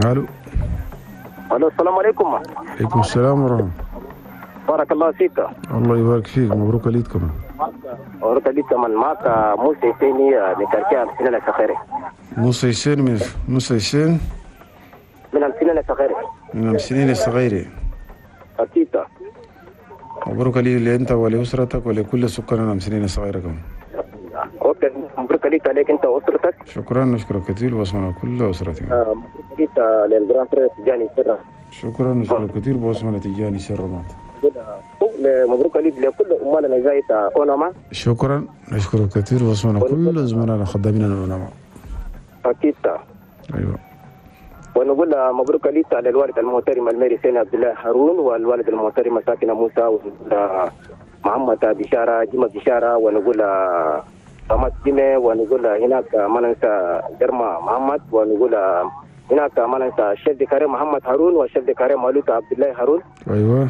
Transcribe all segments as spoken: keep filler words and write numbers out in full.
الو. الو السلام عليكم. عليكم السلام ورحمة. بارك الله فيك. الله يبارك فيك، مبروك العيد كمان. مبروك العيد كمان. معك موسى حسيني من quartier أمسنين الصغيرة. موسى حسين من موسى حسين من أمسنين الصغيرة. من أمسنين الصغيرة. أكيد. مبروك العيد لأنت ولأسرتك ولكل سكان أمسنين الصغيرة كمان. okay، مبروك العيد عليك أنت وأسرتك. شكرا، نشكرك كثير واسمنا كل أسرتك. مبروك العيد لل grand frère تجاني سر. شكرا، نشكرك كثير بواسمنا تجاني سر مات. مبروك العيد لكل أمالنا زايد أونما. شكرا، نشكرك كثير واسمنا كل زملائنا خدامين أونما. أكيد. أيوة. ونقول مبروك العيد للوالد المحترم الميري سين عبد الله هارون، والوالد المحترم ساكنة موسى، ومحمد بشارة جمع بشارة، ونقول محمد جمع، ونقول هناك ما ننسى جرما محمد، ونقول هناك ما ننسى الشيف كريم محمد هارون والشيف كريم مالوك عبد الله هارون. أيوة.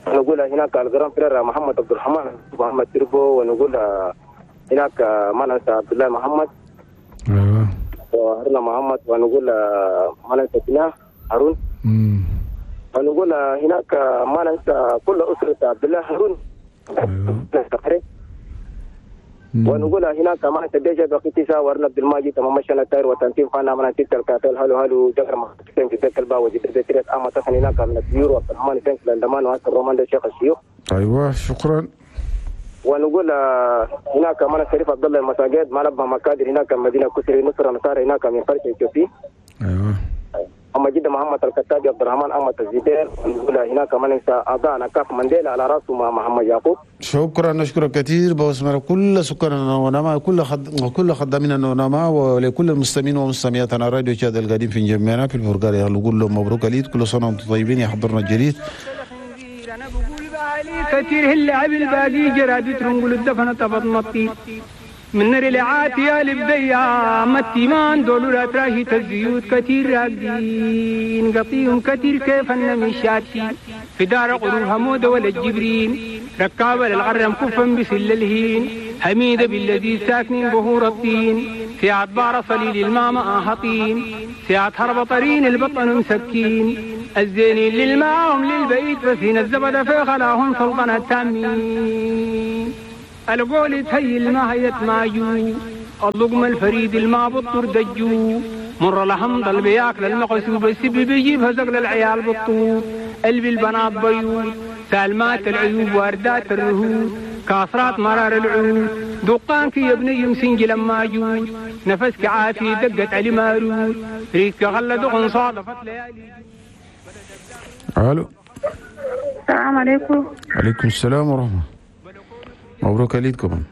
ونقول هناك ال grand frère محمد عبد الرحمن محمد تربو، ونقول هناك ما ننسى عبد الله محمد. أيوة. وهرنا محمد، ونقول ما ننسى سنا هارون. امم ونقول هناك ما ننسى كل أسرة عبد الله هارون. أيوة. ونقول هناك ما ننسى ديجا بقيتيسا ورنا عبد الماجد تمام شنا تاير وتنتيم خانا ما ننسى الكاتل هلو هلو جبر ما في ذاك البا وجد بتريت أما تخن هناك من الديور وعبد الرحمن فنك لندمان وعسر الرومان الشيخ الشيوخ. أيوة شكرا. ونقول هناك ما شريف عبد الله المساجد ما نبه مكادر هناك مدينة كسري نصر نصار هناك من فرش إثيوبي. أيوة. أما جد محمد الكتابي عبد الرحمن أحمد الزبير. ونقول هناك ما ننسى أعضاء نكاف مانديلا على راسه مع محمد يعقوب. شكرا، نشكرك كثير بوسمر كل سكان ونما كل خد... كل خدامين ونما ولكل المستمعين ومستمعات على راديو تشاد القديم في جميعنا في البرغالي. نقول لهم مبروك العيد، كل سنة وانتم طيبين. يحضرنا الجديد كثير اللعب الباقي جرادي ترنقل الدفن تبط مطي من رلعات يا لبديا متيمان دولو لا تراشي الزيوت كثير راقدين قطيهم كثير كيف النمشاتي في دار قروب حمود ولا الجبرين ركابة للغرم كفا بسل الهين حميدة بالذي ساكنين بهور الطين ساعة بار صليل الماما آهطين ساعة هرب طرين البطن مسكين الزينين للماهم للبيت فسين الزبد في خلاهم سلطنة تامين القول تهيل ما هيت ماجو اللقمة الفريد الما بطر دجو مر لحمد البياكل المقسوب السب بيجيب هزق للعيال بالطوب قلبي البنات بيوت سالمات العيوب واردات الرهود كاسرات مرار العود دقانك يا ابني مسنجي لما جود نفسك عافي دقت علي مارود ريتك غلى دقن صادفت ليالي. الو السلام عليكم. عليكم السلام ورحمة. مبروك العيد كمان.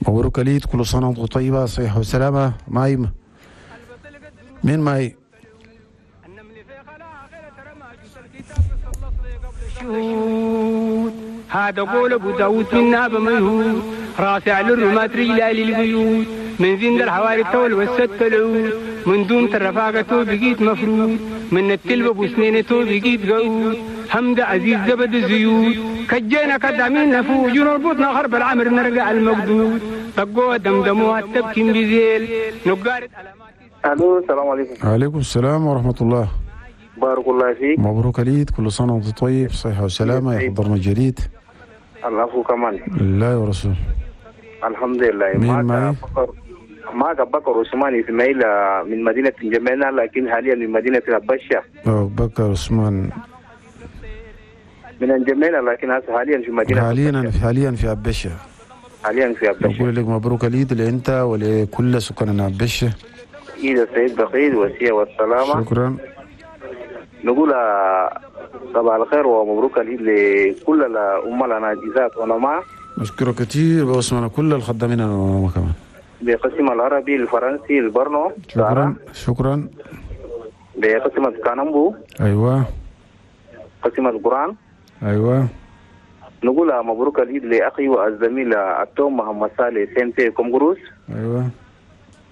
مبروك العيد، كل سنة وانتم طيبة، صحة وسلامة. معي مين معي؟ هذا قول ابو داود من ناب ميهود راسع للرمات رجلال البيوت من زند الحواري التول والست العود من دون الرفاقة بقيت مفروض من التلب ابو سنينته بقيت قعود حمد عزيز زبد الزيوت كجينا كدامين نفوج ونربطنا خرب العمر نرجع المقدود طقوها دمدموها تبكي بزيل نقارت. الو السلام عليكم. عليكم السلام ورحمة الله. بارك الله فيك. مبروك العيد، كل سنة وانت طيب، صحة وسلامة. يحضرنا الجديد. العفو كمان. لله ورسوله. الحمد لله. مين معي؟ معك بكر عثمان اسماعيل من مدينة جمينة لكن حاليا من مدينة البشة. بكر عثمان من جمينة لكن حاليا في مدينة حاليا حاليا في أبشة. حاليا في أبشة. نقول لك مبروك العيد لأنت ولكل سكان أبشة. عيد السعيد بخير والسية والسلامة. شكرا. نقول صباح الخير ومبروك العيد لكل الأمة الإذاعة ونما. نشكرك كثير باسمنا كل الخدامين ونما كمان. بقسم العربي الفرنسي البرنو. شكرا شكرا. بقسم كانامبو. أيوة. قسم القرآن. أيوة. نقول مبروك العيد لأخي والزميل التوم محمد صالح سنتي كومغروس. أيوة.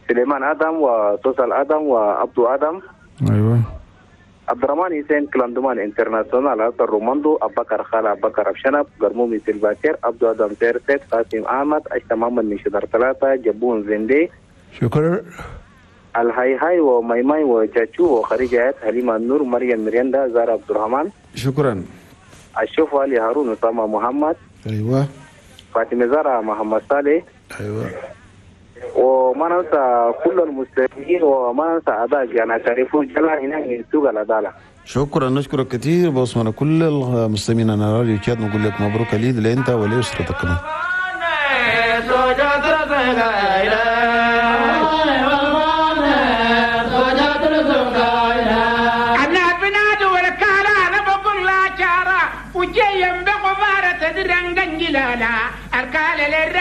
سليمان آدم وتوصل آدم وعبدو آدم. أيوة. عبد الرحمن حسين كلاندمان انترناسيونال أثر روماندو أبكر خالة أبكر أبشنب قرمومي سيلفاكير عبدو آدم سيرسيت قاسم أحمد أشتا محمد من شدر ثلاثة جبون زندي. شكرا. الهاي هاي وماي ماي وجاتشو وخريجة حليمة النور، مريم مريندا، زارا عبد الرحمن. شكرا. الشوف علي هارون، أسامة محمد. ايوه. فاطمة زارا، محمد صالح. ايوه. وما ننسى كل المسلمين وما ننسى أعضاء جانا تعرفون جلا هنا من سوق العدالة. شكرا، نشكرك كثير باسمنا كل المستمعين على راديو تشاد، نقول لك مبروك العيد لانت ولاسرتك كمان. أنا بنادي والكالا أنا بقول لا شارة وجاي بغبارة تدرنجن جلالا الكالا للرار.